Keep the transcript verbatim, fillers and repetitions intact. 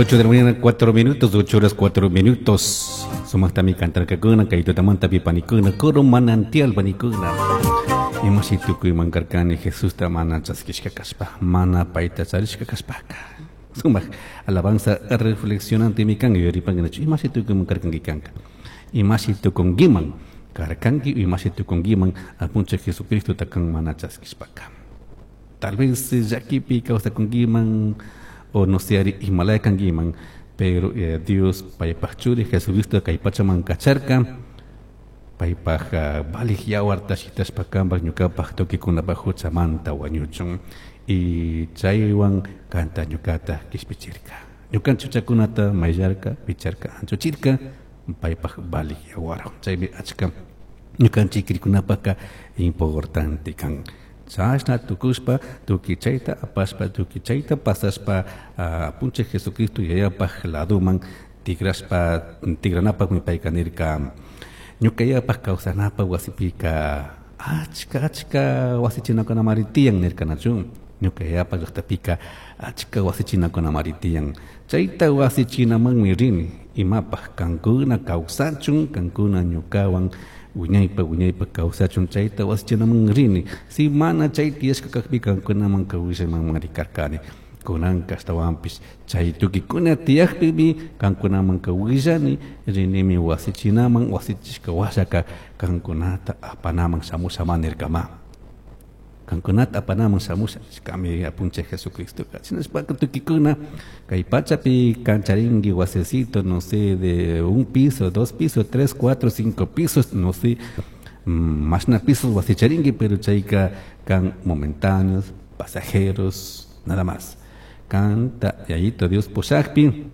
Las ocho de la mañana, cuatro minutos, ocho horas cuatro minutos. Sumaqtami cantarkakuna, kay tutamantapi panikuna, coro manantial panikuna. Imashi tukuyman karkani Jesusta mana chaskishka kaspa, mana payta charishka kaspaka. Sumaq alabanza reflexionantemi kan, yuyaripankinachu, imashi tukuyman karkanki kanka. Imashi tukunkiman karkanki, imashi tukunkiman apunchik Jesucristota kan mana chaskishpaka. Tal vez llakipi kawsakunkiman o no sé ari imalaya kankiman, pero eh, Dios paypaj churi Jesucristo kay pachaman kacharka, paypaj uh, valij yawarta shitashpa kanpaj ñukapaj tukuykunapaj huchamanta wañuchun y chaywan kanta ñukata kishpichirka. Ñukanchik huchakunata mayllarka, picharka, anchuchirka paypaj valij yawarwan. Chaymi achka ñukanchik krikunapaka importante kan. Chashna tukushpa tukuy chayta apashpa tukuy chayta pasashpa uh, apunchik Jesucristo yayapaj laduman tigrashpa tigranapakmi payka nirka ñuka yayapaj kawsanapaj wasipika achka achka wasichinakunamari tiyan nirka nachu. Ñuka yayapaj llaqtapika achka wasichinakunamari tiyan. Chayta wasichinamanmi rini imapaj kankuna kawsachun, kankuna ñukawan wiñaypa wiñaypa kawsachun chayta wasichinaman rini. Si mana chay tiyashka kajpi kankunaman kawsaymanmari karkani. Kunanka ashtawanpish chay tukikuna tiyakpimi kankunaman kawillani rinimi wasichinaman, wasichishka washaka kankunata apanaman shamusha nirkama. Kankunata apanaman shamusha nishkami apunchik Jesucristoka. Shinashpaka tukikuna kay pachapi kancharinki wasecito, no sé, de un piso, dos pisos, tres, cuatro, cinco pisos, no sé, mashna pisos wasicharinki, pero chayka kan momentáneos, pasajeros, nada más. Kanta yayito Dios pushakpi